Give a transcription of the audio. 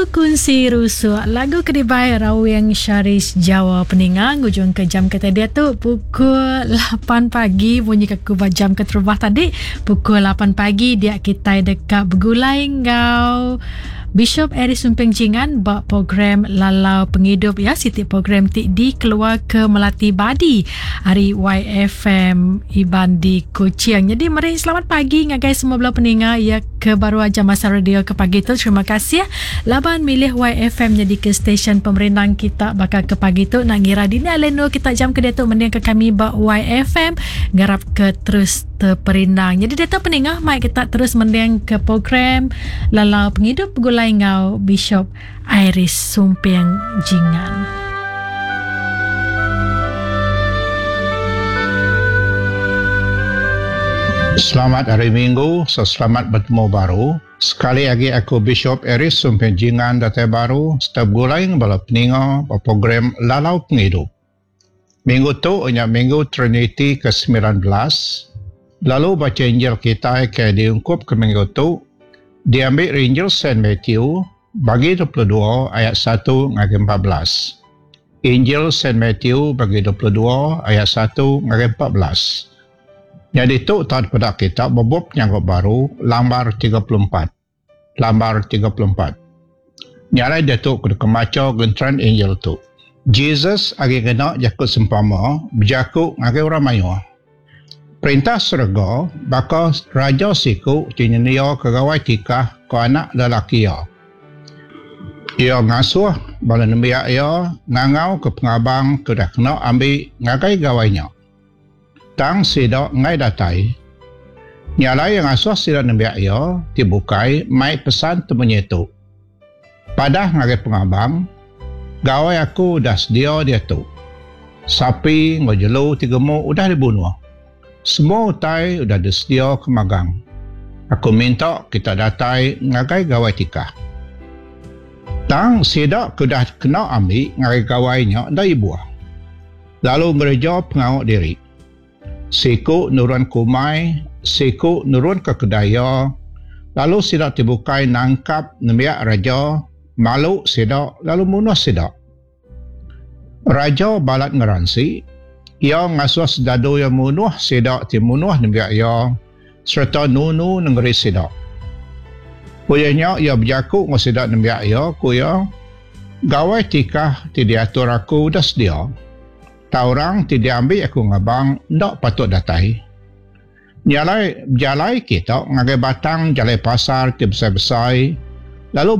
Lagu Kunsi Rusuk. Lagu ke dibai Rawing Syaris Jawa peninga ngujung ke jam kita diatu pukul 8 pagi munyi ke aku ba jam keterubah tadi pukul 8 pagi dia kitai deka begulai enggau Bishop Eric Sumping Jingan ba program Lalau Pengidup ya siti program ti dikeluar ke Melati Badi ari YFM Iban di Kuching. Jadi meri selamat pagi ngagai semua bala peninga ya ke baru aja masa radio ke pagi tu. Terima kasih laban milih YFM nyadi ke stesen pemerindang kita baka ke pagi tu nak ngira dini alai endur kita jam ke diatu mending ke kami ba YFM ngarap ke terus teperindang. Jadi diatu peninga mai kita terus mending ke program Lalau Pengidup Begulai enggau Bishop Iris Sumping Jingan. Selamat Hari Minggu serta selamat betemu baru. Sekali agi aku Bishop Iris Sumping Jingan datai baru serta begulai enggau bala peninga ba program Lalau Pengidup. Minggu tu nya Minggu Triniti ke 19, lalu bacha Injil kitai ke diungkupka minggu tu diambi ari Injil Saint Matthew bagi 22 ayat satu ngagai 14. Injil Saint Matthew bagi 22 ayat satu ngagai 14. Nyadi tu tau dipeda kita ba bup Penyanggup Baru lambar 34. Lambar 34. Nya alai diatu ku deka macha genteran Injil tu. Jesus agi ngena jaku sempama bejaku ngagai orang mayuh. Perintah serega baka raja siku ti nyendiaka gawai tikah ke anak lelaki iya. Iya ngasuh bala nembiak iya ngangauka pengabang ke udah kena ambi ngagai gawai nya. Tang sida enggai datai. Nya alai iya ngasuh sida nembiak iya ti bukai mai pesan temunyi tu, Padah ngagai pengabang, Gawai aku udah sedia diatu. Sapi enggau jelu ti gemuk udah dibunuh. Semua utai udah disediaka magang. Aku minta kita datai ngagai gawai tikah. Tang sida ke udah kena ambi ngagai gawai nya enda ibuh. Lalu ngereja pengawa diri. Siku nurun ke umai, siku nurun ke kedai iya, lalu sida ti bukai nangkap nembiak raja, malu sida lalu munuh sida. Raja balat ngeransi, iya ngasuh sedadu iya munuh sida ti munuh nembiak iya sereta nunu nengeri sida. Udah nya iya bejaku enggau sida nembiak iya, ku iya, Gawai tikah ti diatur aku udah sedia. Tang orang ti diambi aku ngabang enda patut datai. Nya alai bejalai kita ngagai batang jalai pasar ti besai-besai lalu.